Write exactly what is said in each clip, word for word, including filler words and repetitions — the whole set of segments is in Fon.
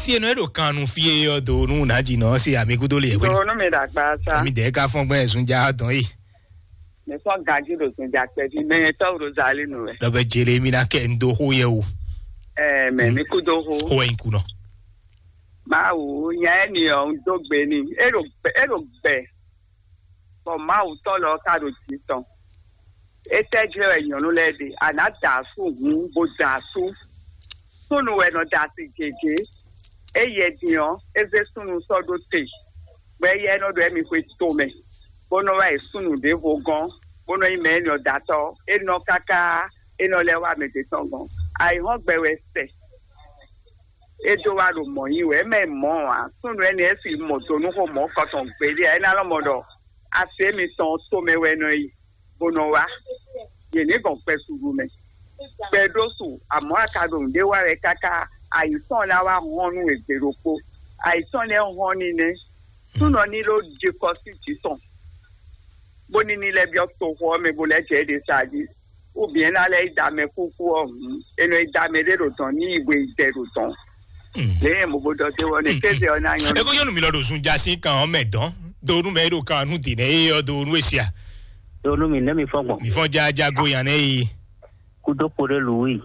Si eno e ɖo kan nu fí e ɔ do nu na dzi nɔ se ami kudo le wɛ. Do nu mi ɖagba sa. Mi de ka fɔn gbɛ sun ja dɔn yi. Mi fɔn ganji ɖo sun ja kpɛ fi mɛ tɔ ɖo zali nu wɛ. Lɔ bɛ jele mi na kɛ n do xo yɛ o. Ɛɛ mɛ mi kudo xo. Xo wɛ n kunɔ. Mawu nya ɛ ni ɔ n do gbe ni. E ɖo gbɛ e ɖo gbɛ. Bɔ Mawu tɔn lɔ ka ɖo jǐ tɔn. Étɛ́ jlɛ́ wɛ nyɔ̌nu lɛ́ɛ ɖe? A nǎ da asú hǔn bó da asú. Súnnu wɛ nɔ da asi gěgé. Éyɛ́ din ɔ́, é zé súnnu sɔ́ ɖó te, bɔ éyɛ́ nɔ ɖo ɛ́ mi xwe tomɛ, bó nɔ wá yi súnnu ɖěvo gɔ́n, bó nɔ nyí mɛ énɛ́ ɔ́ datɔ́. É nɔ káká, é nɔ lɛ́ wá mɛ ɖě tɔn gɔ́n. Ayǐhɔ́ngbe wɛ sɛ. É dó wá ɖo mɔ̌ nyi wɛ, é mɛ mɔ̌ ǎ. Súnnu énɛ́ é si mɔ do nú xó mɔ̌ kɔtɔn gbeɖé ǎ. É ná lɔ́ mɔ ɖɔ asi émitɔn tomɛ wɛ nɔ yi, bó nɔ wá. Yě ní gɔn kpɛ suɖu mɛ. Kpɛ ɖó su, amɔ̌ a ka ɖo nǔɖé wa wɛ káká ayǐ tɔn ná wá hɔn nú we gbe ɖokpó. Ayǐ tɔn lɛ́ɛ hɔn ní nɛ́. Súnɔ ní ló ɖi kɔ sí jǐ tɔn, bó ní ní lɛ́ byɔ́ toxo ɔ́ mɛ bó lɛ́ jɛ é ɖe sa jí. Ou bien ná lɛ́ yi da mɛ kúkú ɔ́ hǔn, è nɔ yi da mɛ ɖé ɖo dɔ̌n ní yi hwe yi dɛ ɖo dɔ̌n. Lě nyɛ mo bo ɖɔ dé wɔ ne kéze ɔ́ ná nyɔ́. Eko nyɔnu mi lɔ ɖo zun ja sín kan ɔ́ mɛ dɔn do nu mɛ e ɖo kan nu dì nɛ e ɔ do nu esia. Do nu mi nɛ mi fɔ gbɔn. Mi fɔ ja ja go yan nɛ yi. Kudo kpo ɖe lu yi.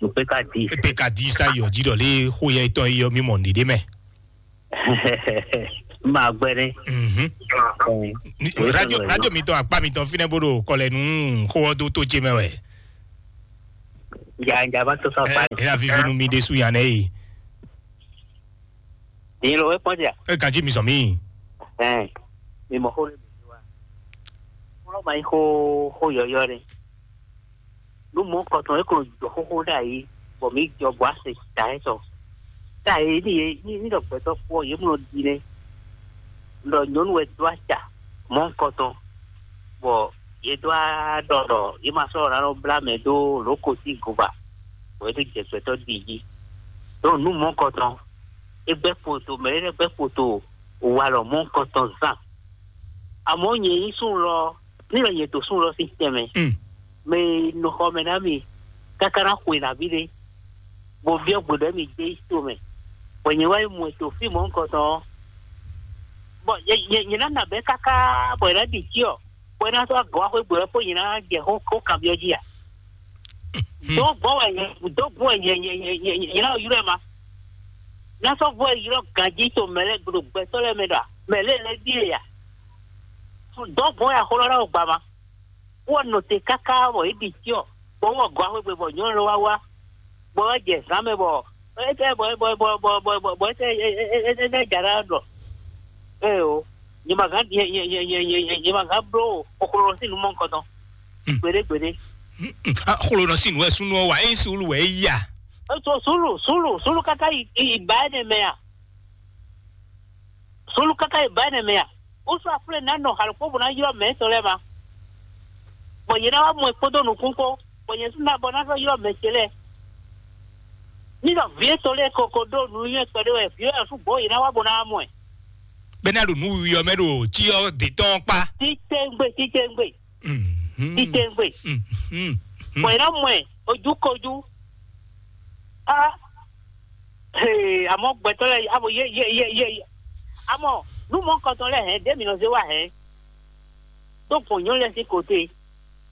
Lu pe ka di. Pe ka di sa yɔ ji ɖɔ le xo yɛ etɔn yi yɔ mi mɔ nɖiɖe mɛ. Ma gbɛ ne. Mhm. Ni- radio radio mitɔn akpa mitɔn finɛ bo ɖo kɔlɛ nu xo ɔ do to ce mɛ wɛ. Ja ja va to sa pa. Ela vivi nu mi ɖe su yan nɛ yi. Ni lo e kpɔn ja. E kan ji mi sɔ mi. Ɛn. Mi mɔ xo le mi wa. Xo ma yi xo xo yɔyɔ ne. Nú mɔ̌ kɔtɔn é ko jɔ xóxó ɖ'ayǐ, bɔ mǐ jɔ bɔ á se ta ɛ tɔ. Ɖ'ayǐ ní yě ní ní ɖɔ gbɛtɔ́ kpó ɔ́, yě mlɔ ɖi nɛ́. Ɖɔ nyɔ̌nu wɛ dó acǎ mɔ̌ kɔtɔn, bɔ yě dó á ɖɔ ɖɔ yě ma sɔ́ ná nɔ blá mɛ dó lǒ ko sín gova, bɔ é dó jɛ gbɛtɔ́ ɖi jí. Ɖó nǔ mɔ̌ kɔtɔn, é gbɛ́ poto, mɛ ɖé lɛ́ɛ gbɛ́ poto walɔ mɔ̌ kɔtɔn zán. Amɔ̌ nyɛ nyí súnnu lɔ, ní lɔ nyɛ to súnnu lɔ sín tɛnmɛ. Mm. Mɛ e nɔ xɔ mɛ ná mi káká ná xwe nǎví ɖé, bó byɔ́ gbe ɖɔ mi dé to mɛ, bɔ nyɛ wá yi mɔ ɛ to fí mɔ̌ nukɔntɔn ɔ́, bɔ nyɛ nyɛ nyɛ ná nɔ abɛ̌ káká bɔ è nǎ ɖi cyɔ, bɔ é ná sɔ́ agɔ̌ wá xwé gbe wɛ kpó nyɛ ná jɛ xó xó kanbyɔ́ jí a? Hmm. Dó gbɔn wɛ nyɛ dó gbɔn wɛ nyɛ nyɛ nyɛ nyɛ nyɛ ná ylɔ́ ɛ ma. Ná sɔ́ gbɔn wɛ ylɔ́ ganjí to mɛ lɛ́ɛ gbe ɖo gbɛtɔ́ lɛ́ɛ mɛ ɖɔ a? Mɛ lɛ́ɛ lɛ́ɛ ɖíe a? Dɔ̌ gbɔn wɛ axɔlɔ́ ná wɔ gba ma. Wɔ nɔ te káká bɔ é ɖi cyɔ, bɔ wɔ gɔ́ axwé gbe bɔ nyɔ̌nu lɔ wá wá, bɔ wá jɛ zǎn mɛ bɔ é tɛ bɔ bɔ bɔ bɔ bɔ bɔ bɔ é tɛ é é é é é ja ɖá ɖɔ. Ee o, nyɛ ma gán nyɛ nyɛ nyɛ nyɛ nyɛ nyɛ nyɛ ma gán bló xoklo lɔ sín nú mɔ nukɔn tɔn. Hmm. Gbeɖé gbeɖé. Hmm, hmm. Ah, xolo nɔ sín nú wɛ súnú ɔ́ wá, é nyí suúlu wɛ é yí a? Ètò sùúrù sùúrù sùúrù káká yi yi ba ɛ nɛ mɛ a? Solu káká yi ba énɛ́ mɛ a? Ó sɔ́ aflɛ́ ná nɔ xalǒ kpó bó ná ylɔ́ mɛ étɔn lɛ́ɛ ma. Bɔ yě ná wá mɔ ɛ kpódó nukún kpó, bɔ nyɛ sú ná bɔ ná sɔ́ ylɔ́ mɛ ce lɛ́ɛ. Ní ɖɔ vǐ étɔn lɛ́ɛ ko ko ɖó nǔnywɛ́ kpɛɖé wɛ, vǐ ɔ́ sú gbɔ̌ yě ná wá bó ná wá mɔ ɛ. Bɛ́ ná ɖo nǔ wiwi ɔ́ mɛ ɖo cyɔ dě tɔn kpá. Títɛ́ngbé, títɛ́ngbé, Mhm. Títɛ́ngbé. Mhm. Bɔ yě ná mɔ ɛ ojú kojú. Á, hee, àmọ́ gbɛtɔ́ lɛ́ɛ, àmọ́ yé yé yé yé yé. Àmọ́ nú mɔ̌ kɔntɔn lɛ́ɛ hɛn, dě mǐ nɔ zé wá hɛn. Dó gbɔn nyɔ̌nu lɛ́ɛ sín kote.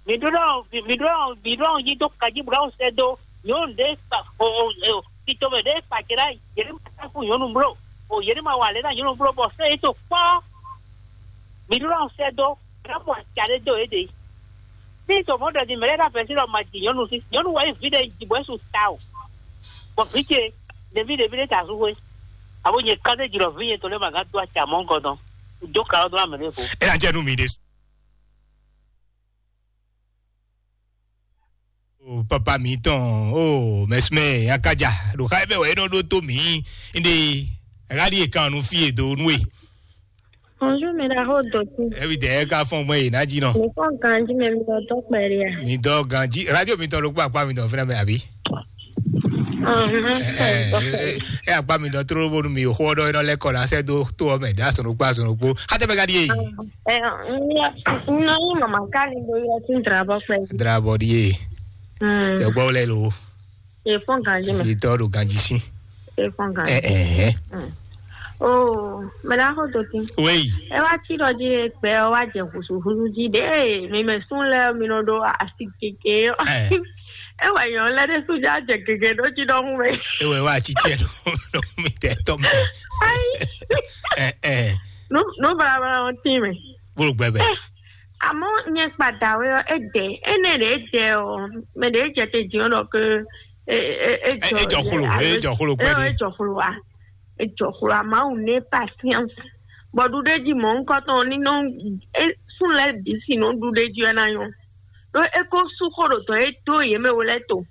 Mǐ ɖó ɖɔ mǐ ɖó ɖɔ mǐ ɖó ɖɔ yí dó kají bó ɖɔ sɛ́ dó nyɔ̌nu ɖé kpa o o o tito mɛ ɖé kpa ce ɖá yě ɖé ma tá kú nyɔ̌nu bló. O yě ɖé ma wa lě ná nyɔ̌nu bló bɔ sɛ́ yě to kpɔ́. Mǐ ɖó ɖɔ sɛ́ dó ná mɔ aca ɖé dó yě ɖe. Ní to mɔ̌ ɖɔ din mɛ lɛ́ɛ ɖo afɛ́sí ɖɔ ma ji nyɔ̌nu sí. Nyɔ̌nu wɛ nyí vǐ ɖé ji bɔ é su ta o. Bɔ vǐ ce ɖeví ɖeví ɖé ta sú xwé. Abo nyɛ kán ɖé ji ɖɔ vǐ nyɛ tɔn lɛ́ɛ ma gán dó aca mɔ̌ gɔ́ dɔn. Dó ka ɔ́ dó amɛ ɖé vo. É ná jɛ nú mi ɖé. O papa mi tɔn o mɛsumɛ akaja ɖo xa bɛ wɛ é nɔ ɖó tó mi ndé. Ɛɣá ɖi e kan nu fí e do nú e. Bonjour, mi ɖaxó Doki. Evi dɛ ka fɔn gbɔn yìí ná jí nɔ. Mi fɔn ganji mɛ mi lɔ dɔ kpɛɖe a? Mi dɔ ganji radio mi tɔn ló kpó akpá mi tɔn fúnra mi àbí? Ɛ akpá mi tɔn tró bónú mi xó ɔdɔ iná lɛkọ la sɛ dó tó ɔmɛ dá sɔnù kpá sɔnù kpó. Xatɛ bɛ ka di yé. Ɛ n yɔ n yɔ yín mama ká ni do yɔ tún drabɔ kpɛ. Drabɔ di yé. Ɛ gbɔ lɛ lo. E fɔn ganji mɛ. Si tɔ do ganji si. Ɛ fɔn gan. Ɛ ɛ. Oh, mɛ ɖaxó dotí. Wéyi. Ɛ wá tí ɖɔ jí gbɛ ɔ wá jɛ húsúhúsú jí ɖé mi mɛ sún lɛ mi nɔ ɖo asi kéke. Ɛ. Ɛ wá nyɔ lɛ ɖé sún já jɛ kéke ɖó jí ɖɔhún mɛ. Ewé wá tsitsɛ ɖo ɖo mi tɛ tɔ mɛ. Ayi. Ɛ ɛ. Nu nu balabala ɔn tí mɛ. Bolo gbɛ bɛ. Ɛ, àmọ́ nyɛ kpadà wɛ ɔ, é dɛ, énɛ́ ɖě é dɛ ɔ, mɛ ɖě é jɛ te jǐ ɔ́ ɖɔ ké é é é Ɛ jɔ ejɔ xolo, alo ejɔ xolo ɛ kpɛɖé. Ejɔ xolo wa, ejɔ xolo wa, Mawu ní patience. Bɔ ɖuɖéji mɔ̌hunkɔtɔn ní nɔ é sún lɛ́ɛ bǐ si nɔ ɖuɖéji wɛ ná nyɔ. Ɖó é kó sú xó ɖo dɔ̌ é dó yě mɛ we lɛ́ɛ to.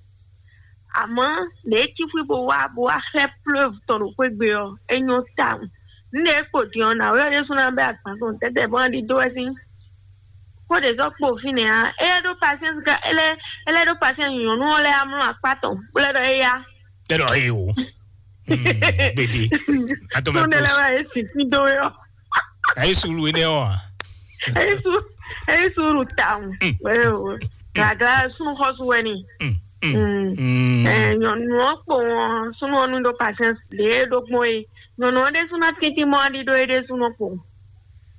Àmọ́ lě e Cífú bo wá bo wá xlɛ́ plɔ́v tɔn ɖo xwé gbe ɔ́, é nyɔ́ tawun. Nǔ e kpo din ɔ́, nǎwe ɔ́ ɖésú ná bɛ́ agban tɔn tɛ́tɛ́ bó ná ɖidó wɛ sín. Xó ɖě zɔ́ kpo fínɛ́ ǎ. É lɛ́ ɖó pasiɛ́nsi ká é lɛ́ é lɛ́ ɖó pasiɛ́nsi nyɔ̌nu ɔ́ lɛ́ɛ amlɔ akpá tɔn, bó lɛ́ ɖɔ éyá. Tɛ ɖɔ é o. Gbede. Atɔmɛ Súnɖé lɛ́ kpɔs. Wá é sì sín dó é ɔ́. Ayi sulu énɛ́ ɔ́ a? É sú é sú ɖu tawun. Mm. Wéwo. Gàgà súnnu xɔ́sú wɛ ni. Mm, mm, mm. Ɛ, nyɔnu ɔ́ kpo wọn súnnu ɔ́ nu ɖó pasiɛnsi ɖě é ɖó gbɔn é. Nyɔnu ɔ́ ɖésú ná tíntín mɔ aɖi ɖó é ɖésú nɔ kpo.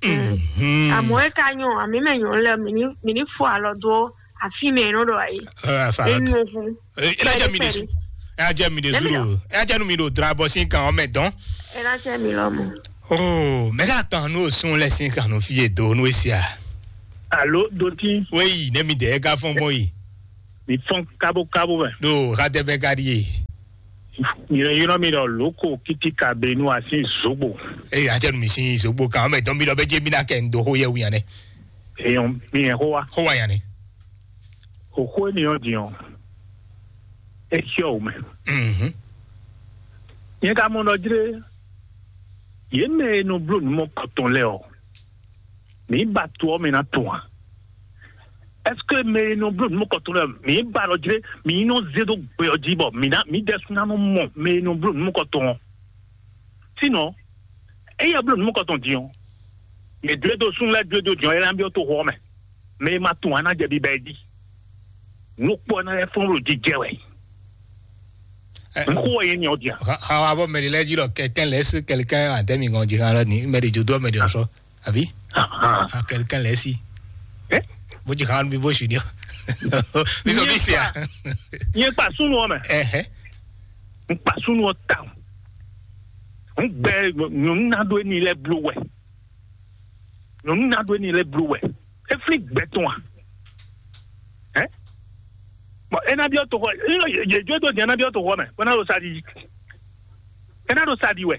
Mhm. Àmọ́ é ka nyɔ àmì mɛ nyɔnu lɛ mì ní mì ní fo alɔ dó àfi mɛ é nɔ ɖɔ ayé. Ɛ, afa É alɔ dó. Nyɔ fún. Ɛ, é ná jẹ́ mi ɖésú. Pɛ́lí. É ná jẹ́ mi ɖésú Lẹ́mi ɖɔ. Ɖo. É ná jẹ́ nu mi ɖo dra bɔ sín kan ɔ́ mɛ dɔn. É ná jẹ́ mi lɔ mɔ. Oh, mɛ ka kan nu osun lɛ sín kan nu fi e do nu esia. Alo doti. Wéyi ne mi dɛ ka fɔn bɔ yi. Mi fɔn kabo kabo mɛ. Do ka tɛ bɛ ka di ye. Mi yɔrɔ mi ɖɔ loko kiti ka be nu asi zogbo. Eye a jɛ nu mi sin zogbo kan mɛ dɔn mi lɔ bɛ je mi na kɛ n do ho yɛ wu yan nɛ. Eyɔn mi yɛ ho wa. Ho wa yan nɛ. Oxó énɛ́ ɔ́ din ɔ́, é xyɔ́ wǔ mɛ. Mhm. Nyɛ ka mɔ ɖɔ jlé, yě mɛ e nɔ bló nǔ mɔkɔtɔn lɛ́ɛ ɔ́, mǐ ba to ɔ́ mɛ ná tɔn a? Ɛseke mɛ e nɔ bló nǔ mɔkɔtɔn lɛ́ɛ ɔ́, mǐ ba ɖɔ jlé, mǐ nɔ zé dó gbɛ ɔ́ jí bɔ mǐ ná mǐdɛɛ sú ná nɔ mɔ mɛ e nɔ bló nǔ mɔkɔtɔn ɔ́? Sínɔ, ényí ɛ bló nǔ mɔkɔtɔn din ɔ́, yě dó e dó súnnu lɛ́ɛ dó e dó din ɔ́, é ná byɔ́ toxo ɔ́ mɛ. Mɛ e ma tunwun ɔ́ ná jɛ biba ɛ jí. Nǔ kpɔ́ ná lɛ́ fɔ́n ɖo jijɛ wɛ. Ɛ, Nǔ xo wɛ yě nya ɔ́ din a? Xa xa wa bɔ mɛ ɖe lɛ́ɛ jí ɖɔ quelqu'un laisse quelqu'un à demi gɔn jí xa lɔ ni mɛ ɖe dzo dó mɛ ɖe ɔsɔ àbí? Ahan. Ah, quelqu'un laisse. Ɛ? Bó jí xa mi bó su ni ɔ. Mi sɔ mi se a. Nyɛ kpa súnnu ɔ́ mɛ. Ɛhɛ. N kpa súnnu ɔ́ tawun. N gbɛ nyɔ̌nu ná ɖó éní lɛ́ɛ bló wɛ. Nyɔ̌nu ná ɖó éní lɛ́ɛ bló wɛ. É flín gbɛ tɔn a? Ɛ? Bɔn é ná byɔ́ toxɔ, yě jó dó din ná byɔ́ toxɔ mɛ, bó ná ɖo sa ɖi. É ná ɖo sa ɖi wɛ.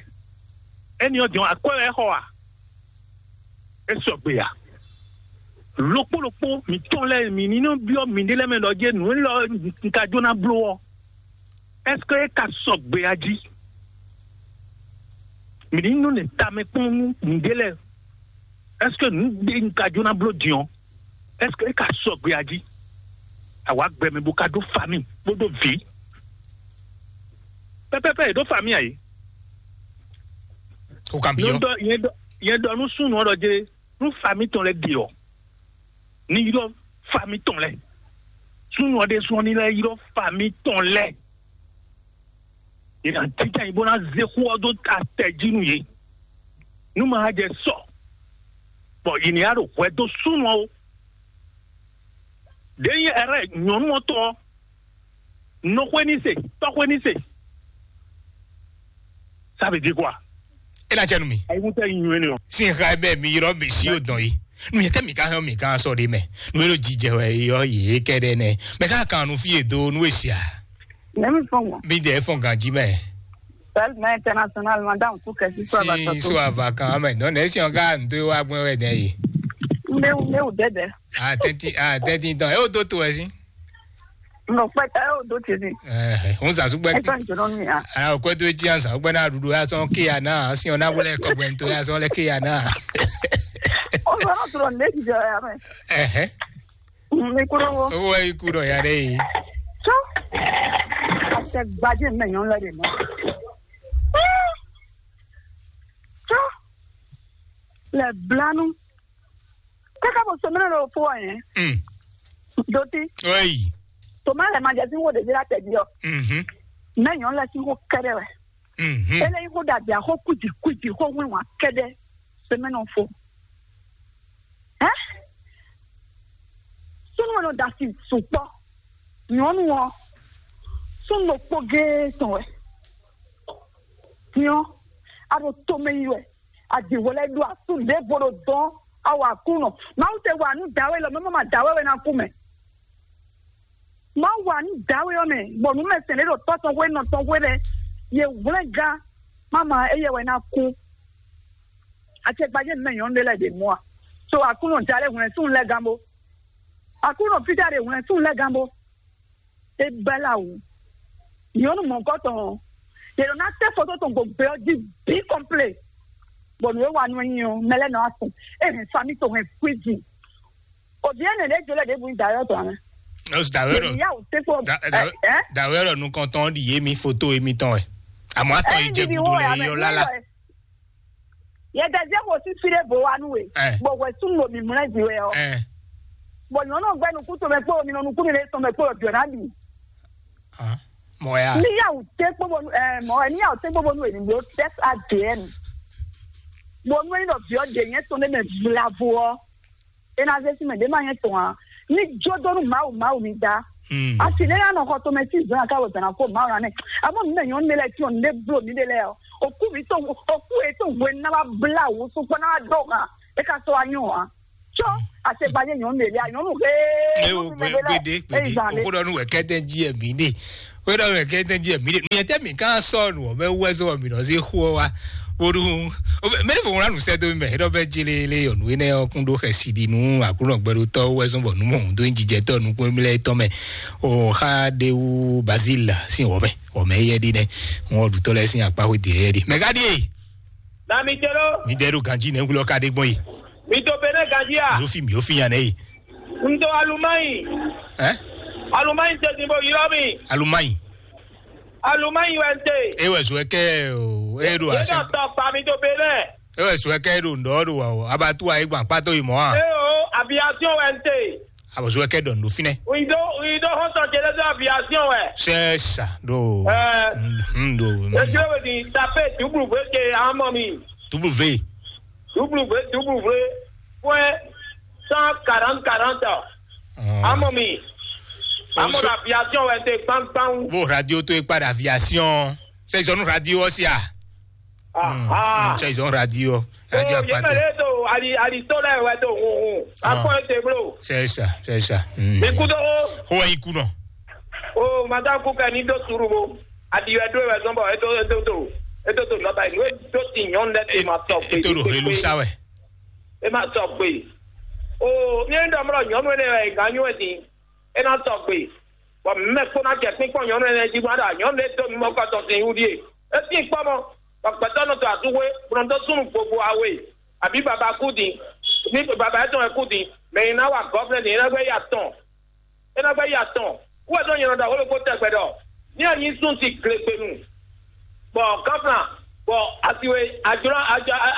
Éní ɔ́ din ɔ́, akwɛ́ wɛ é xɔ a? É sɔgbe a? Lokpó lokpó mǐtɔn lɛ́ɛ mǐ ní nɔ byɔ́ mǐɖée lɛ́ɛ mɛ ɖɔ jɛ́n nǔ élɔ́ un ka jó ná bló ɔ́, ɛ́seke é ka sɔgbe a jí? Mǐ ní nɔ nɛ tamɛ kpɔ́n nú mǐɖée lɛ́ɛ. Ɛ́seke nǔ ɖé un ka jó ná bló din ɔ́, ɛ́seke é ka sɔgbe a jí? Àwa gbɛmɛ bó ka ɖó famille kpódó vǐ. Pɛpɛpɛ è ɖó famille a yě. O kan bi Nyɛ ɔ. Ɖɔ nyɛ ɖɔ nyɛ ɖɔ nú súnnu ɔ́ ɖɔ jé nú famille tɔn lɛ́ɛ ɖe ɔ́, ní ylɔ́ famille tɔn lɛ́ɛ. Súnnu ɔ́ ɖésú ɔ́ ní lɛ́ ylɔ́ famille tɔn lɛ́ɛ. Yě ná jínjɔ́n ayǐ bó ná zé xó ɔ́ dó atɛ jí nú yě. Nú ma jɛ sɔ, bɔ yě ní ya ɖo hwɛ dó súnnu ɔ́ ó. Ɖě nyí ɛrɛ nyɔ̌nu ɔ́ tɔn ɔ́, nɔxwé ní se, tɔ́xwé ní se. Ça veut dire quoi? É ná jɛ nu mi. Ayíkúntɛ nyi nywɛ́ nɛ ɔ. Sin xa bɛ mi yrɔ mi si o dɔn yi. Nu yɛ tɛ mi ka hɛn mi kan sɔ de mɛ. Nu yɛ ɖo jijɛ wɛ yɔ yě kɛ ɖe nɛ. Mɛ ka kan nu fi e do nu e sia. Nɛ mi fɔn ŋɔ. Mi dɛ fɔn ganji mɛ. Sɛl mɛ international madame ku kɛ si so ava Sin tɔ so to. Ava kan mɛ. Dɔn ne si ɔn ka n to wa gbɛn wɛ dɛ yi. N bɛ n bɛ o dɛdɛ. A tɛnti a tɛnti dɔn. E o do to wɛ si. Nɔ kpɛtɛ o do tene. Ɛɛ, n sa sugbɛ. Ɛtɔ n jɔrɔ mi a. Ala o kɔtɔ etsi ansa o gbɛna ɖuɖu ya sɔn ke ya na asi ɔna wele kɔgbɛ nto ya sɔn lɛ ke ya na. O sɔrɔ sɔrɔ ne jijɔ ya mɛ. Ɛhɛ. Mi kúrò wo. Owó yìí kúrò ya ɖe yìí. Tó. Àṣẹ gbajẹ mẹyàn lẹ de mọ. Tó. Lẹ blanu. Kaka bɔ sɔmɛnɛ lɔ fo wa yẹn. Mm. Doti. Oyi. Toma lɛ ma jẹ sí wo ɖevi la tẹbi ɔ. Mhm. Mɛ nyɔ lɛ sí wo kɛdɛ wɛ. Mhm. Ele yi xo ɖaɖa xo kuji kuji xo wínwá kɛɖɛ semɛnɔ fo. Ɛ? Súnú ɔ́ nɔ da asi sukpɔ́. Nyɔ̌nu ɔ́, súnnu ɖokpó géé tɔn wɛ. Nyɔ̌, a ɖo tomɛ yi wɛ. A ɖi hwlɛ́ ɖó asú ɖěvo ɖo dɔn. A wa Aklúnɔ. Mawu te wa nǔ dǎwe lɔ, mɛ ma dǎwe wɛ ná kú mɛ. Mawu wa nǔ dǎwe ɔ́ mɛ, bɔ nǔ mɛ sɛn ɖé ɖo tɔ́ tɔn xwé nɔ tɔn xwé lɛ́ɛ. Ye hwlɛ́n gán, mama éyɛ́ wɛ ná kú. Acɛkpajɛ mɛ nyɔ̌nu ɖé lɛ́ɛ ɖe mɔ a? So Aklúnɔ ja lɛ́ hwlɛ̌n súnnu lɛ́ɛ gán bó. Aklúnɔ fíjá ɖe hwlɛ̌n súnnu lɛ́ɛ gán bó. É bɛ́ lá wǔ. Nyɔ̌nu mɔ̌kɔtɔn ɔ́, yě nɔ ná tɛ́ foto tɔn gbogbe ɔ́ jí bǐ kɔnplé. Bɔ nǔ e wa nú ɛ nyi ɔ́, mɛ lɛ́ɛ nɔ wá fun. É hɛn famí tɔn hɛn kwíji. Òbí ɛnɛ ɖě jolɛ ɖěbǔ nyí dayɔ tɔn amɛ. Os dawero. Yà wò tẹ́ kpɔ. Dawero nukɔntɔn ɖi yé mi foto yé mi tɔn ɛ. Àmọ́ àtọ̀ yìí jẹ́ gbogbo lè yọ lálá. Yɛ dɛzɛ ko si fi ɖe bo wa nu we. Ɛ. Bɔ wɛ sun lo mi mlɛ di wɛ ɔ. Ɛ. Bɔ nyɔnu gbɛ nukun to mɛ kpo mi nɔ nukun mi le to mɛ kpo yɔ biɔ na bi. Ah, mɔ ya. Ni ya u te kpo bonu ɛ mɔ ɛ ni ya u te kpo bonu e ni lo test again. Bonu e ni dɔ biɔ de nyɛ to ne mɛ vlavo ɔ. E na ze si mɛ de ma nyɛ tɔn a. Ni jo do nu mawu mawu mi da. Hmm. Asi ne ya nɔ xɔ to mɛ si zɔn ya ka wɛ bɛna ko mawu na nɛ. Amo mi mɛ nyɔnu ne lɛ ti ɔ ne blo mi de lɛ ɔ. Oku mi to oku e to hwe na ba bla wo so kpɔ na ba dɔ kan. E ka sɔ anyɔ a. Tsɔ asegbanyɛ nyɔnu ɖe lia nyɔnu he. Eo gbe gbede gbede. Oku ɖɔ nu wɛ kɛtɛ ji ɛ mi de. Oku ɖɔ nu wɛ kɛtɛ ji ɛ mi de. Nuyɛ tɛ mi kan sɔ nu ɔbɛ wɛ sɔ mi nɔ se xo wa. Woɖu mɛ ne fo ŋlɔ nu sɛ do mi mɛ ɖɔ bɛ jelele yɔ nu enɛ ɔkun ɖo xɛsi ɖi nu aklunɔ gbɛɖotɔ wɛ zɔn bɔ nu mɔ do jijɛtɔ nukun mi lɛ tɔ mɛ. O xa de wu Bazil sin wɔmɛ wɔmɛ yɛ ɖi nɛ. Ŋɔ ɖutɔ lɛ sin akpa xo de yɛ ɖi mɛ ka ɖi. Na mi tɛ ɖo. Mi ɖe ɖo ganji nɛ ŋkulɔ ka ɖe gbɔn yi. Mi to Benin ganji a? Mi ò fi mi ò fi yan nɛ yi. N to Alumanyi. Ɛ? Alumanyi tɛ din bo ylɔ mi. Alumanyi. Alumanyi wɛ n te. E wɛ zɔ kɛ o e ɖo Yé ase. Nɔ tɔ kpa mi to Benin. E wɛ zɔ kɛ ɖo ŋdɔ ɖo wa o abatu ayi gban kpato yi mɔ a. E o aviation wɛ n te. Abɔ zɔ kɛ ɖɔ ŋdo finɛ. Ŋdo ŋdo hɔn tɔ jɛlɛ do aviation wɛ. C'est ça do. Ɛ. Mhm do. Ejò wɛ di tape dublu vwe ke amɔ mi. Dublu vwe. Dublu vwe dublu vwe. Point cent quarante quarante. Amɔ mi. Amɔ la aviation wɛ te gbangban. Bo radio to ekpa da aviation. C'est zone radio aussi ah. Ah. C'est zone radio. Radio akpato. Yemɛlɛ to ali ali to lɛ wɛ to hun hun. Akɔ ete blo. C'est ça, c'est ça. Mi kudo. Ho yi kuno. O madame kuka ni do suru bo. Adi wɛ do wɛ zɔn bɔ eto eto to eto to nɔta yi nue do ti nyɔnu lɛ ti ma tɔ gbe. Eto do helu sa wɛ. E ma tɔ gbe. O mi e dɔ mlɔ nyɔnu ne wɛ e gan nyu e din. E na tɔ gbe. Bɔ mɛ kpó na jɛ kpínkpɔ́n nyɔnu ne jí bɔ ada nyɔnu ne do mi mɔ kɔ tɔn sin wudi e. E sin kpɔ mɔ. Bɔ gbɛtɔ nɔ to asuwe bɔ nɔ do sunu gbogbo awe. Abi baba ku din. Ni baba etɔn e ku din. Mɛ yi na wa gɔvnɛ ni e na gbɛ ya tɔn. E nɔ gbɛ yi atɔn. Wɛ dɔ nyɛ nɔ ɖɔ wolo ko tɛgbɛ ɖɔ ní a nyi sun ti glegbenu. Bɔ gɔfla bɔ asiwe adzro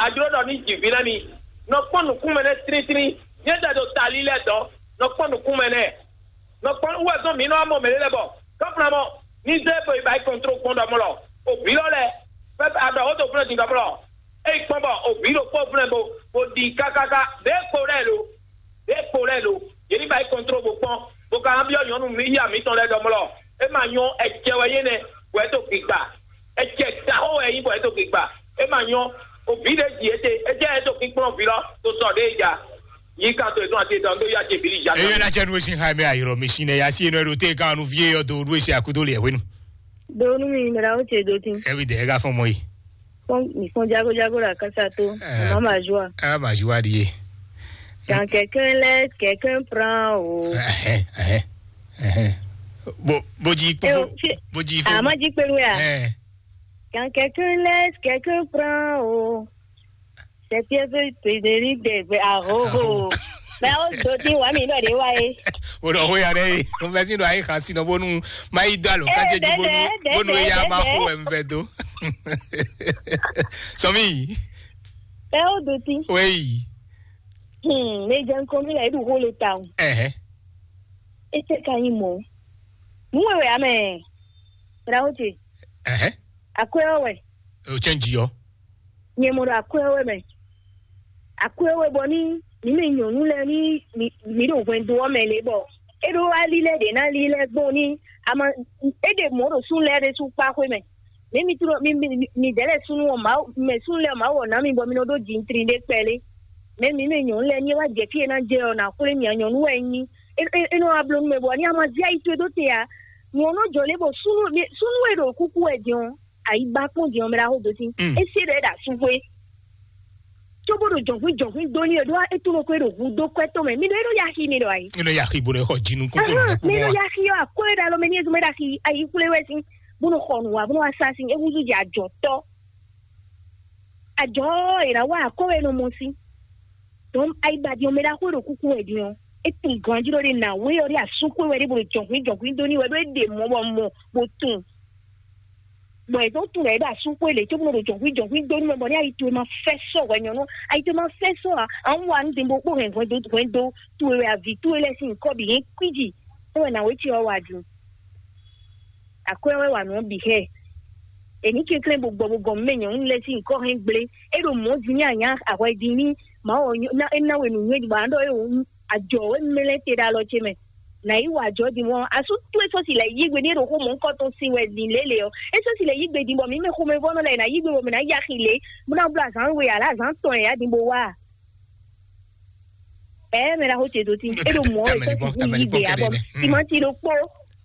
adzro ɖɔ ní dzi vi nɛ mi. Nɔ kpɔn nukun mɛ nɛ trinitrin. Nyɛ tɛ ɖo tali lɛ dɔ. Nɔ kpɔn nukun mɛ nɛ. Nɔ kpɔn wɛ zɔn mi nɔ amɔ mɛ lɛ bɔ gɔfla mɔ ní zɛ bo yi ba yi kɔntro kpɔn ɖɔ mɔ lɔ. O vi lɔ lɛ. Fɛ aɖɔ o to fúnɛ din ɖɔ mɔ lɔ. Eyi kpɔ́n bɔ o vǐ ɖokpó flɛ́ bo bo ɖi kákáká ɖě kpo lɛ́ɛ lo ɖě kpo lɛ́ɛ lo yě ní ba yi kɔntró bó kpɔ́n bó ka ná byɔ́ nyɔ̌nu mǐ ya mǐtɔn lɛ́ɛ ɖɔ mlɔ é ma nyɔ́ ɛjɛ wɛ nyé nɛ́ wɛ é dó gbigba ɛjɛ taxó wɛ é nyí bɔ é dó gbigba é ma nyɔ́ o vǐ ɖé ji é te é jẹ́ é dó kíkplɔ́n vǐ lɔ tó sɔ ɖě ja yí kan tó é tún àti ètò ɔ̀dó yá jẹ bìlì ja. Eye na cɛ nu esi ha mi ayɔrɔ mi si ne ya si ne ɖo te kan nu vie yɔ do ɖu esi akudo le ɛwenu. Do nu mi mra o ce do tin. Every day ga fɔn mɔ yi. Fɔn mi fɔn jago jago la kasa to. Eh, mama joie. Ah ma joie die. Quand quelqu'un laisse, quelqu'un prend o. Eh eh eh. Bo bo ji po. Bo ji fo. Ama ji pelu ya. Eh. Quand quelqu'un laisse, quelqu'un prend o. Sɛtiɛ fɛ tederi dɛ fɛ ahoho. Mɛ o do ti wa mi dɔ de wa ye. O dɔ ho ya dɛ ye. O fɛ si dɔ ayi xan si nɔ bonu ma yi do alo kanje ji bonu bonu ya ma ho wɛ n fɛ do. Sɔmi. Mɛ o do ti. Wei. Hmm, ne jɛ nkɔmi la edu ho le ta o. Ɛhɛ. Ete ka yi mɔ. Nuwe wɛ amɛ. Brawo te. Ɛhɛ. Akwɛ wɛ. O cɛn ji ɔ. Nyɛ mɔ ɖo akwɛ́ wɛ mɛ. Akwɛ́ wɛ bɔ ní mǐ mɛ nyɔ̌nu lɛ́ɛ ní mǐ ɖo hwɛndo ɔ́ mɛ lě bɔ é ɖó ali lɛ́ɛ ɖě ná ali lɛ́ɛ gbɔn ní ama é ɖe mɔ̌ ɖo súnnu lɛ́ɛ ɖésú kpá xwé mɛ. Mɛ mi tlɔ mi mi mi dɛ̌ lɛ́ɛ súnnu ɔ́ Mawu mɛ súnnu lɛ́ɛ Mawu ɔ́ ná mi bɔ mi nɔ ɖó jintrin ɖé kpɛlé. Mɛ mi mɛ nyɔ̌nu lɛ́ɛ ní é wá jɛ fí e ná jɛ ɔ́ ná xwlé mì a nyɔ̌nu wɛ é nyí. É é é nɔ wá bló nú mɛ bɔ ní ama zé ayi towe dó te ǎ. Nǔ ɔ́ nɔ jɔ lě bɔ súnnu súnnu e ɖo kúkú wɛ din ɔ́ ayi ba kpɔ́n din ɔ́ mɛ ɖaxó dó tín. Mm. É se ɖɔ é ɖo asúxwé. Cóbó ɖo jɔ̌nhwín jɔ̌nhwín dó ní e ɖó é tunɔ ko é ɖo hu dó kwɛ́ tɔn mɛ. Mi ɖɔ é ɖo yaxi mi ɖɔ ayi. Ino yaxi bo ɖe xɔ jinu kúkú Ahán, nɔ kpó mɛ mɔ. Ɖo yaxi ɔ́ akó é ɖo alɔ mɛ ní ezɔn é ɖo axi ayi xwlé wɛ sín bó nɔ xɔ nǔ wa bó nɔ wá sá sín é húzú jɛ ajɔ̌tɔ́. Ajɔ̌ ɔ́ è nǎ wa akó é nɔ mɔ sín. Dɔn ayi ba din ɔ́ mɛ ɖaxó e ɖo kúkú wɛ din ɔ́ é tunwun ganjí ɖɔ ɖe nǎwe ɔ́ ɖe asúxwé wɛ ɖé bó ɖo jɔ̌nhwín jɔ̌nhwín dó ní wɛ ɖó é ɖe mɔ̌ bɔ mɔ bó tunwun. Bɔ è dó tunwun ɖɔ é ɖo asúxwé lě cóbó nɔ ɖo jɔ̌nhwín jɔ̌nhwín dó ní wɛ bɔ ní ayi towe ma fɛ́ sɔ́ hwɛ nyɔ̌nu ayi towe ma fɛ́ sɔ́ ǎ. An wá nú din bó kpó hɛn hwɛndo hwɛndo towe wɛ avi towe lɛ́ɛ sín nyǐkɔ bǐ nyí kwíji. É wɛ nǎwe ce ɔ́ wa din. Akwɛ́ wɛ wa nǔ ɔ́ bǐ xɛ. È ní kɛnklɛ́n bó gbɔ bó gɔn mɛ nyɔ̌nu lɛ́ɛ sín nyǐkɔ hɛn gblé. É ɖo mɔ̌ din ní anyá ahwɛ din ní Mawu ɔ́ nyɔ- ná é ná we nǔnywɛ́ bɔ a nǎ ɖɔ é wǒ ajɔ wɛ mlɛ́ te ɖo alɔ ce mɛ. Nǎ yi wa ajɔ din mɔ asú towe sɔ́ si lɛ̌ yí gbe ní é ɖo xó mɔ̌hunkɔtɔn sin wɛ din lě lě ɔ́. É sɔ́ si lɛ̌ yí gbe din bɔ mǐ mɛ xomɛvɔ́nɔ lɛ́ɛ è nǎ yí gbe bɔ mǐ ná yi axi lě bó ná bló azǎn we ǎ lě azǎn tɔn e ǎ din bó wá a. Ɛɛ mɛ ɖaxó ce dó tín é ɖo mɔ̌ wɛ sɔ́ sixú yí gbe ǎ bɔ timanti ɖokpó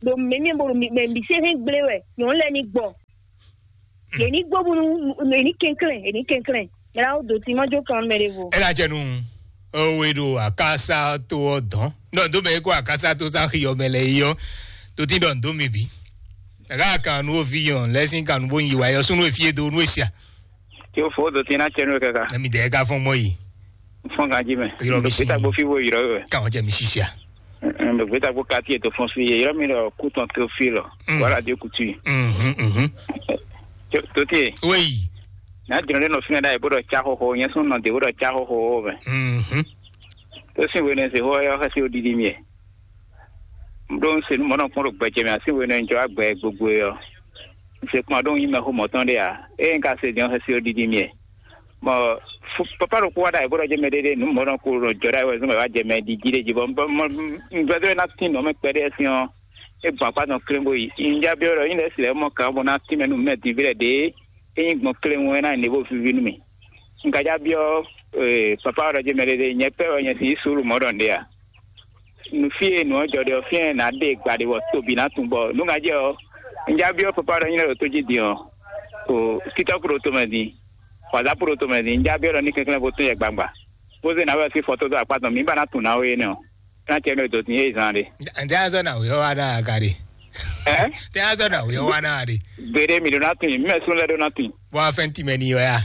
ɖo mɛmɛ bó ɖo mɛ mǐ se hɛn gblé wɛ nyɔ̌nu lɛ́ɛ ní gbɔ. Yě ní gbɔ bónú yě ní kɛnklɛ́n yě ní kɛnklɛ́n mɛ ɖaxó dó tín má jó kan mɛ ɖěvo. Ela jɛ nu owe ɖo akasa to ɔ dɔn nɔ do mɛ ko akasa to sa xi ɔmɛ lɛ yi ɔ to ti dɔ ndo mi bi. Aga kan nu ovi yɔn lɛ sin kan nu bo yi wa yɔ sunu efie do nu esia. Tí ó fó dó tí ná tẹnu kaka. Emi dɛ ka fɔn mɔ yi. Fɔn kan jí mɛ. Yɔrɔ mi si. Gbéta gbó fi wo yɔrɔ wɛ. Kan jɛ mi sisia. Gbéta gbó kati ètò fɔn fi yé yɔrɔ mi lɔ kú tɔn tó fi lɔ. Wala dé kutu yi. Mhm mhm. Tó tí. Oui. N'a jɔn ɖe nɔ fi na ɖa yi bó ɖɔ tsa xoxo nyɛ sún nɔ de bó ɖɔ tsa xoxo wo mɛ. Mhm. Tó sin wene se xó yɔ xɛsi odidi miɛ. Ɖó un se nú mɔ̌ nɔ kpɔ́n ɖo gbɛjɛ mɛ así wene un jɔ agbɛ gbogbo ɔ́. Un se kpɔn ɖó un nyí mɛxó mɔ̌tɔn ɖé ǎ. Ée un ka se din ɔ́ xɛsi odidi miɛ. Bɔ papa ɖokpó wá ɖo ayǐ bó ɖɔ jɛ mɛ ɖéɖé nǔ mɔ̌ nɔ ko ɖo jɔ ɖo ayǐ wɛ zɔn mɛ wá jɛ mɛ ɖi jí ɖé jí bɔ un gbɛdɔ́ ná tín nɔ mɛ kpɛɖé sín ɔ́. É gbɔn akpá tɔn kléŋgo yi. Un já byɔ́ ɖɔ nyí lɛ́ si lɛ́ mɔ kǎn bó ná tín mɛ nú mɛ din ví lɛ ɖě é nyí gbɔn kléŋgo é ná nyí nǐ bó víví nú mì. Un ka já byɔ́ papa ɔ́ ɖɔ jɛ mɛ ɖéɖé nyɛ pɛ́ wɛ nyɛ si yí suúlu mɔ̌ ɖɔ nǔɖé a? Nu fí e nǔ ɔ́ jɔ ɖe ɔ́, fí e nǎ ɖe gba ɖe bɔ tobi ná tunwun bɔ nǔ ŋa jɛ ɔ́, un já byɔ́ papa ɖɔ nyí lɛ́ ɖo tó jí din ɔ́, o TikTɔk ɖo tomɛ din, WhatsApp ɖo tomɛ din, un já byɔ́ ɖɔ ní kɛnklɛ́n bó tún yɛ gbangba, bó zé nǎwe ɔ́ sín fɔtó dó akpá tɔn mǐ ba ná tunwun nǎwe énɛ́ ɔ́, é ná cɛ nú e dǒ din é zan ɖe. Ǹjẹ́ azɔ na wě ɔ́ wá ná aga ɖe? Ɛ? Tɛ azɔ na wě ɔ́ wá ná ɖe? Gbeɖé mi ɖó ná tunwun, mí mɛ sún lɛ́ ɖó ná tunwun. Bɔ afɛn tìmɛ ni wɛ a?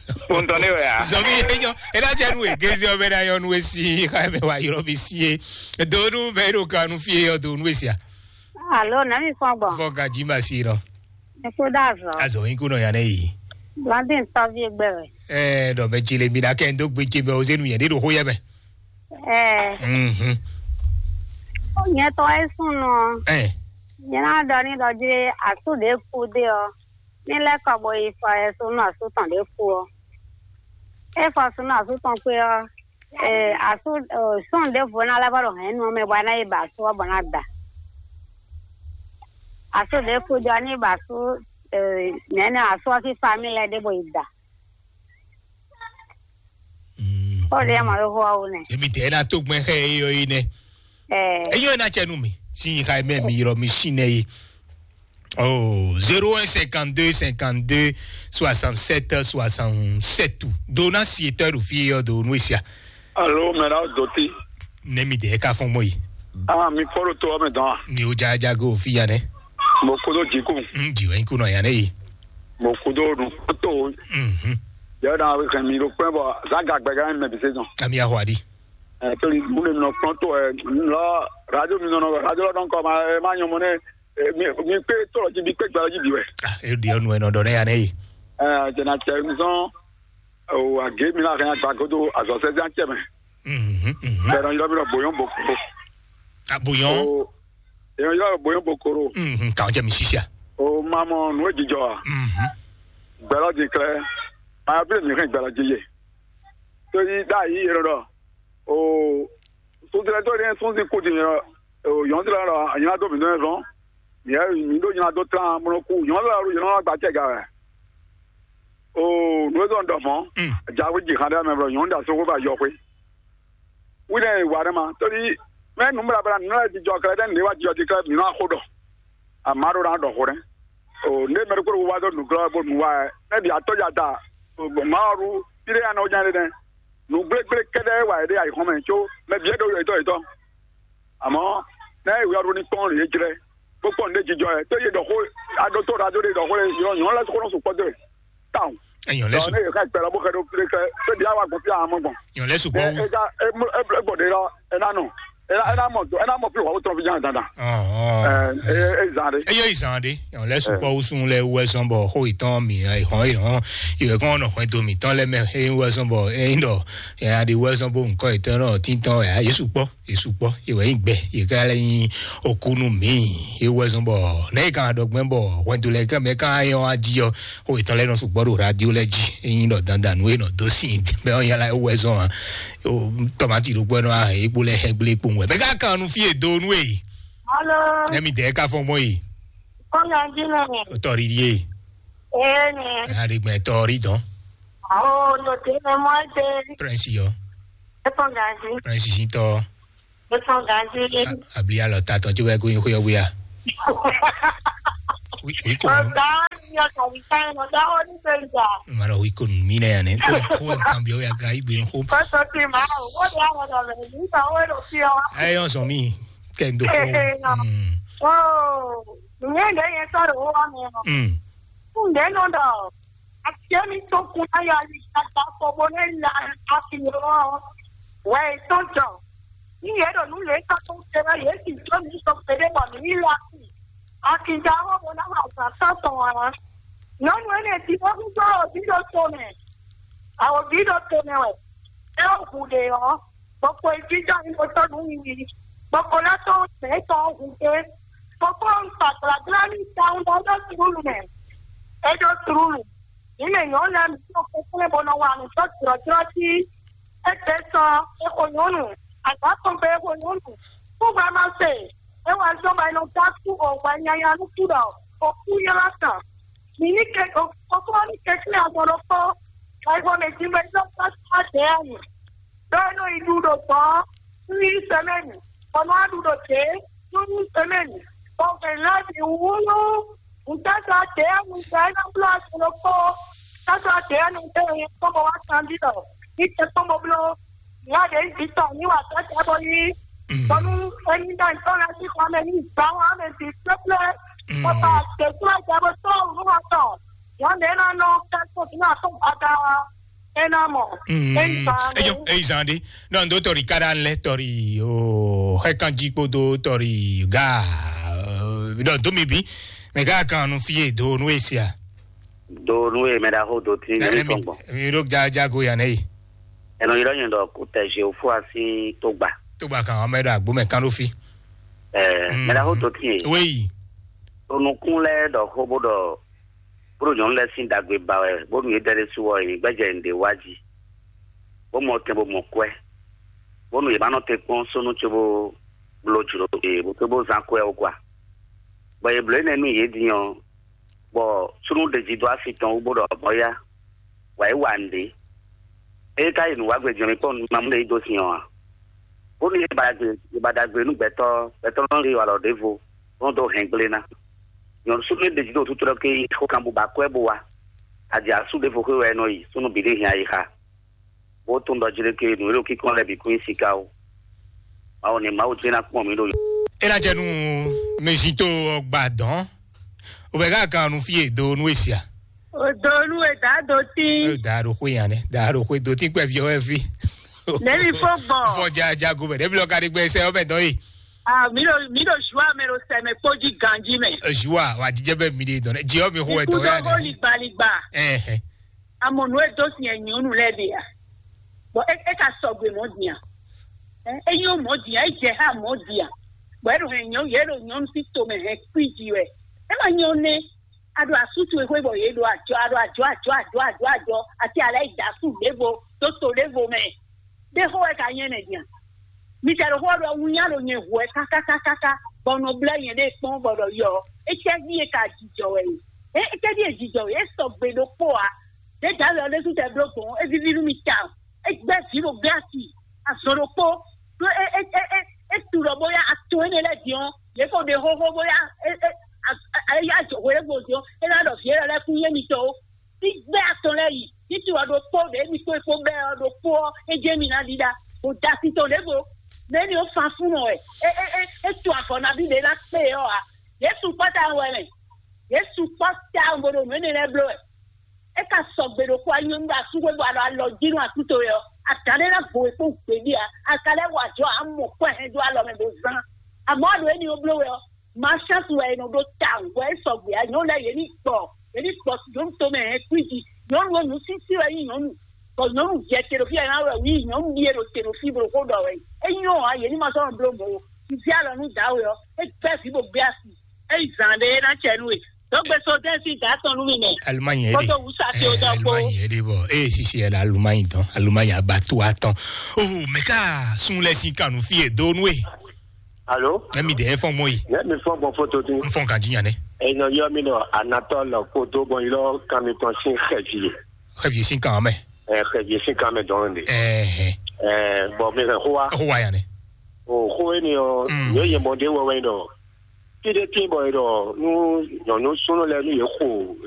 Kpɔntɔn ne wɛ a? Zɔmi yɛ nyɔ, ena cɛ nu egezi ɔbɛ na yɔ nu esi xa mɛ wa yɔrɔ bi si ye. Do nu bɛ ɖo kan nu fie yɔ do nu esia. Alo, na mi fɔn gbɔn. Fɔ gaji ma si nɔ. Eko da azɔ. Azɔ yin ko nɔ ya ne yi. Blandin tɔvi egbe wɛ. Ɛɛ, dɔ mɛ tsi le mi na kɛ ndo gbe tsi mɛ o zenu yɛ ne ɖo xo yɛ mɛ. Ɛɛ. Mhm. Nyɛ tɔ e sunu ɔ. Ɛɛ. Nyɛ na dɔ ni dɔ dzi asu ɖe ku de ɔ. Ní lɛ́ kɔ bo yi fɔ yɛsu nú asú tɔn ɖě kú ɔ́. É fɔ asú nú asú tɔn kpé ɔ́, ee, asú sɔ́n ɖěvo ná lɛ́ vɔ ɖo hɛ̌nnu ɔ́ mɛ bɔ é ná yi ba asú ɔ́ bɔ ná da. Asú ɖě kú jɔ ní ba asú nɛ̌nɛ asú ɔ́ sín famíli lɛ́ɛ ɖěvo yi da. Kpɔ́ ɖě mɔ ɖó xó ɔ́ wú nɛ. Èmi tẹ̀ ẹ́ ná tó gbɛn xẹ́ é yɔ é nɛ. Ɛɛ. Enyo ena cɛ nu mi si yi xa mɛ mi yɔrɔ mi si nɛ yi. Oh, zéro un cinquante-deux cinquante-deux soixante-sept soixante-sept. Dona si etɔ ɖo fi yɔ do nu esia. Alo mɛ la doti. Ne mi de ka fɔn mɔ yi. Ah, mi fɔlɔ to ame dɔn. Ni o ja ja go fi ya ne. Mo kodo jiku. Mm, jiwe ku no ya ne yi. Mo kodo du to. Mhm. Ya da we kan mi ro pɛ bo za ga gbe ga me bi se don. Ami ahwadi. Eh, to ni mu le no pronto eh, lo radio mi no no radio lo don ko ma eh, ma nyo mo ne eh, mi mi pe to ji bi pe gba ji bi we. Ah, e di onu e no do ne ya ne yi. Eh, je na che mi son o age mi la kan gba godo azo se jan che me. Mhm. Mhm. Pero yo mi lo boyon boko. Ah, boyon. O yo yo boyon bokoro. Mhm. Ka je mi sisia. O mamo no e jijɔ a. Mhm. Gbɛlɔ din klɛ. Aya bí mi hɛn gbɛlɔ din ye. To yi da yi yɔrɔ dɔ. O sunzilɛ to ne sunzi ku din yɔrɔ. O yɔn zilɛ dɔ nyina do mi dɔn zɔn. Mi yɛ mi do nyina do tlan mo ku yɔn zilɛ ru yɔn gba tɛ ga wɛ. O nu zɔn dɔ mɔ. Mm. Jawe ji han da mɛ bro yɔn da so ko ba yɔ kwe. Wi ne wa ne ma. To yi mɛ nu bla bla nu la di jɔ kɛ den ne wa jɔ di kɛ mi na ko dɔ. Amaro na dɔ ko ne. O ne mɛ ko wa do nu glɔ bo nu wa. Ne bi atɔ ja da. O ma ru. Bi de ya na o nya de ne. Nu gble gble kɛdɛ wa de ayi xɔmɛ tso. Mɛ bi do yɔ itɔ itɔ. Àmọ́ lẹ́yìn ìwé ọdún ní pọ́n rèé jlɛ bó pọ́n ní jijɔ ẹ̀ tó yé dɔ̀xó adótó rádó ɖé dɔ̀xó lé yɔ nyɔ̌ lɛ́ sókónɔ sùn kpɔ́dó ẹ̀ táwọn. Èèyàn lẹ́sùn. Ní èyí ká ìpẹ́rẹ́ bó kẹ́dó pé kẹ́ tó di àwọn àgbọ̀n fí àwọn ọmọ gbọ̀n. Èèyàn lẹ́sùn pọ̀ wú. Ẹ ká ẹ gbọ̀dé lọ ẹ ná nù ẹ ná mọ̀ ẹ ná mọ̀ pé wà ó tọ́ fi jẹ́ dandan. Ẹ ẹ zan de. Eye izan de. Èèyàn lẹ́sùn pọ̀ wú sun lẹ wú ẹ̀sán bọ̀ xó ìtàn mi ìhàn ìhàn ìwé kan ọ̀nà kan ètò mi tán lẹ́mẹ̀ ẹ wú ẹ̀sán bọ̀ ẹ ń dọ̀ ẹ adé wú ẹ̀sán bọ̀ nǹkan ìtàn náà títàn ẹ̀ yéṣù pọ̀. Yéṣu kpɔ́, yě wɛ nyí gbɛ, yě ká lɛ́ nyí okú nú mǐ. É wɛ zɔ́n bɔ nɛ̌ yě ka ɖɔ gbɛ́ bɔ hwɛndo lɛ́ɛ ká mɛ ká nyɔ́ wá jí ɔ́, xó yětɔn lɛ́ɛ nɔ sukpɔ́ ɖo radio lɛ́ɛ jí. É nyí ɖɔ dandan nú é nɔ dó sin mɛ ɔ́ nyala é wɛ zɔ́n ǎ. Tɔmati ɖokpó ɛnɔ ahɛn é kpó lɛ́ hɛn gblé kpowun wɛ. Mɛ ká kan nu fí e do nú e. Alo. Nɛ́ mi dɛ̌ ká fɔ́n gbɔn e. Kɔmi adi nɛ. Tɔri ɖi e. Ee nɛ. Aɖegbɛ tɔri dɔn. Awo, no te nɛ mɔ ete. Prince yɔ. Etɔn gazi. Prince si tɔ. Etɔn gazi. Abli alɔ ta tɔn tso bɛ ko yin xo yɔ buya. Wi wi ko. Ọ̀gá ni ọkà mi ká ẹ̀ lọ́dọ̀ ó ní bẹ́ẹ̀ gbà. Ma lọ wi ko mi nɛ yan ne. Ko ko kan bi o ya ka igbe ho. Kọ́sọ̀ ti máa ò wọ́n dé àwọn ọ̀dọ̀ rẹ̀ nígbà wọ́n lọ sí ọ. Ẹ yọ sọ mi kẹ n do ko. Ee, ee, nọ. Mm. Ó, ìyẹn ìdẹ́ yẹn sọ̀rọ̀ ó wà mí ọ. Mm. Ǹdẹ́ nọ dọ̀. Afiɛ́mítɔn kun ayɔ ali tata kpɔbɔ nɛ la afi ɔ wɛ tɔn jɔ. Ní yě ɖo nǔ lě tɔn tó te wɛ yě sì jó mi sɔ kpeɖé bɔ mǐ yi la. Akija wɔ bɔ ná ma zǎn tɔn tɔn ǎ. Nyɔ̌nu énɛ́ jí bó húzú awɔ̌ví ɖo to mɛ. Awɔ̌ví ɖo to mɛ wɛ. É wɔ hu ɖe ɔ́, gbɔkpo e jínjɔ́n nyí bó tɔ́ nǔ wiwi, gbɔkpo lɛ́ tɔ́n mɛ̌ tɔn ɔ́ hu gbé. Fofó un kpa gblagbla n'i tawun bɔ é ɖó tlúlu mɛ. É ɖó tlúlu. Mǐ mɛ nyɔ̌nu lɛ́ɛ mǐ nɔ kɛnklɛ́n bó nɔ wa nǔ dó jlɔ̌jlɔ́ jí. Égbé sɔ é xo nyɔ̌nu, azǎn tɔn gbe é xo nyɔ̌nu. Kúgbɛ́ ma se, é wɛ zɔ́n bɔ è nɔ dó asú o hwɛ nyanya nú kú ɖɔ o kú ylɔ́ tɔn. Mǐ ní ke o fofó ní kɛnklɛ́n azɔn ɖokpó, bɔ é xo mɛ jí bɔ é nɔ dó asú adɛ̌ ɔ́ nyi. Ɖó é nɔ yi ɖu ɖo gbɔ̌ nú une semaine, bɔ nɔ wá ɖu ɖo dě nú une semaine, bɔ hwɛ̌n lɛ́ɛ bǐ wú nú ŋutɛ́zɔ́ dě ɔ́, ŋutɛ́ é nɔ bló azɔn ɖokpó, tɛ́zɔ́ dě ɔ́ nɔ dó nyɛ kpɔ́n bɔ wá kanbyɔ́, ní tɛ kpɔ́n bɔ bló, nya ɖě nyí vǐ tɔn ní wa tɔ́ bɔ yí, bɔ nú é ní ɖɔ nyǐkɔ lɛ́ɛ sín xɔ mɛ ní gbǎ wá mɛ bǐ kplé kplé, bɔ ba dě kplé jɛ bó tɔ́ nǔ wa tɔn, nyɔ̌nu é ná nɔ kɛ́ kó bǐ nɔ atɔ́ gbada wá. Ena mɔ. Eyi zan de. Donc do tɔri kaɖa lɛ tɔri o xɛkanji kpodo tɔri ga. Donc do mi bi mɛ ga kan nu fie do nu esia. Do nu e mɛ ɖaxó do tí ní tɔn gbɔn. Mi ɖo jajago yan ne yi. Ɛnɔ yi ɖɔ nyɛ ɖɔ kó tɛ zé fún asi tó gbà. Tó gbà kan ɔmɛ ɖo agbo mɛ kan ɖo fi. Ɛɛ mɛ ɖaxó do tí ye. Wéyi. Onukun lɛ ɖɔ xó bó ɖɔ bó ɖo nyɔ̌nu lɛ́ɛ sín ɖagbe ba wɛ, bónú yě dɛ ɖésú ɔ́, yě gbɛ́jɛ nǔɖé wá jí, bó mɔ tɛn bó mɔ kwɛ́, bónú yě ma nɔ te kpɔ́n súnnu cóbó bló jlǒ yě bó cóbó zán kwɛ́ ɔ́ gɔ́ ǎ. Bɔ yě bló énɛ́ nú yě din ɔ́, bɔ súnnu ɖě jí dó asi tɔn wú bó ɖɔ mɔ̌ yá, wǎ yi wa nǔɖé. Ée ka yi nǔ wá gbe jɛ́n mi kpɔ́n nú mamú ɖé yi dó sin ɔ́ ǎ. Bónú yě ba ɖagbe yě ba ɖagbe nú gbɛtɔ́, gbɛtɔ́ nɔ yi walɔ ɖěvo, bó nɔ dó hɛn gblé ná. Nyɔ̌nu súnnu e ɖeji ɖo tútú ɖɔ ké yi xó kan bó ba kwɛ́ bó wá. Adě asú ɖěvo xwé wɛ é nɔ yi, súnnu bǐ ɖé hɛn ayixa, bó tunwun ɖɔ jiɖeke nǔ e ɖo kíkɔn lɛ́ɛ bǐ kún nyí siká ó. Mawu ní Mawu jɛ́n ná kpɔn mǐ ɖo. É ná jɛ nú mɛzito ɔ́ gba dɔ̌n. O bɛ ká kan nu fí e do nú e sia. O do nú e dǎ do tín. E dǎ ɖo xwé nya nɛ, dǎ ɖo xwé do tín kpɛví ɔ́ wɛ fí. Nɛ̌ mi fó gbɔn? Fɔ ja jago mɛ, ɖɛ̌ mi lɔ ka ɖe gbɛ sɛ ɔ́ mɛ dɔn yi. Ah, mi ɖo mi ɖo ju ame ɖo sɛmɛ kpó jí ganjí mɛ. Ju a wa jijɛ bɛ mi ɖe dɔn dɛ, ji ɔ́ mi xo wɛ dɔn ya nɛ. Ikú ɖɔ ligbaligba. Ɛhɛn. Amɔ nǔ e dó sin ɛ nyɔ̌nu lɛ́ɛ ɖe a? Bɔ é é ka sɔgbe mɔ̌ din a? Ɛ é nyɔ́ mɔ̌ din a? É jɛ xá mɔ̌ din a? Bɔ é ɖo hɛn nyɔ̌nu yě ɖo nyɔ̌nu sín tomɛ hɛn kwíji wɛ. É ma nyɔ́ nɛ́. A ɖo asú towe xwé bɔ yě ɖo ajɔ, a ɖo ajɔ, ajɔ, ajɔ, ajɔ, ajɔ, ati alɛ yi da asú ɖěvo, dó to ɖěvo mɛ. Ɖé xó wɛ ka nyɛ nɛ din a? Mi ka ɖo xó ɔ́ ɖɔ wunnya ɖo nyɛ hu wɛ kákákákáká, bɔ nɔ blɛ́ nyɛ ɖe kpɔ́n bɔ ɖɔ yɔ. Étɛ́ ɖíe ka jijɔ wɛ e? É étɛ́ ɖíe jijɔ wɛ? É sɔgbe ɖokpó ǎ. Ɖě Dǎwe ɔ́ ɖésú tɛ bló gbɔn, é víví nú mi tawun. É gbɛ́ vǐ ɖo glasi azɔn ɖokpó. Ɖó é é é é é tu ɖɔ bóyá atɔn énɛ́ lɛ́ɛ din ɔ́, yě ko ɖe xóxó bóyá é é é yá jɔ hwelébó din ɔ́, é ná ɖɔ vǐ élɔ́ lɛ́ɛ kún nyí mitɔn ó. Ní gbɛ́ atɔn lɛ́ɛ yi, títí ɔ́ ɖokpó ɖě mi kpó é kpó bɛ́ ɔ́ ɖokpó ɔ́, é jɛ mi ná ɖiɖa, bó da titɔn ɖěvo. Mɛ̌ ni ó fan fún nɔ wɛ? É é é é tu avɔ nabí ɖě ná kpé ɔ́ ǎ. Yě sukpɔ́ tawun wɛ mɛ. Yě sukpɔ́ tawun bó ɖo nǔ énɛ́ lɛ́ɛ bló wɛ. É ka sɔgbe ɖokpó anyɔ́nú ɖo asúxwé bɔ a ɖo alɔ jí nú asú towe ɔ́, a ka lɛ́ ná gbo we kpó gběɖé ǎ. A ka lɛ́ wa ajɔ amɔ kɔ́ hɛn dó alɔ mɛ bó zán. Amɔ̌ a ɖo éní ɔ́ bló wɛ ɔ́, ma chance wɛ è nɔ ɖó tawun bɔ é sɔgbe ǎ. Nyɔ̌nu lɛ́ɛ yě ní gbɔ, yě ní gbɔ nyɔ̌nu tomɛ hɛn kwíji. Nyɔ̌nu ɔ́ nǔsísí wɛ nyí nyɔ̌nu, bɔ nyɔ̌nu jɛ te ɖo fí wɛ ná wɛ wǐ nyɔ̌nu ɖíe ɖo te ɖo fí bó ɖo xó ɖɔ wɛ. É nyɔ́ ǎ, yě ní ma sɔ́ nɔ bló mɔ̌ ó. Un fí alɔ nú dǎwe ɔ́, é gbɛ́ vǐ bó gbé asi. É yi zǎn ɖé é ná cɛ nú we. Dɔgbe so dɛn sín dǎ tɔn nú mi mɛ. Alumanyi yɛ de. Kótó wusa tí o dɔ kpó. Alumanyi yɛ de bɔ eye sisi yɛ la alumanyi dɔn alumanyi abatu atɔn. Oh, mɛ ká sun lɛ sin kanu fi e do nue. Alo? Ɛmi de efɔn mɔ yi. Ne mi fɔ gbɔn foto tun. N fɔn kan jinya ne. Enɔ yɔ mi nɔ anatɔ lɔ ko do bɔn yi lɔ kan mi tɔn sin xɛji. Xɛvi sin kan mɛ. Ɛ xɛji sin kan mɛ dɔn de. Ɛɛ. Ɛ bɔn mi hɛn xo wa. Xo wa ya ne. O xo e ni ɔ. Mm. Yɔ yɛ mɔ de wɔ wɛ dɔ. Fi ɖé tín bɔ e ɖɔ nú nyɔ̌nu súnnu lɛ́ɛ nú yě xo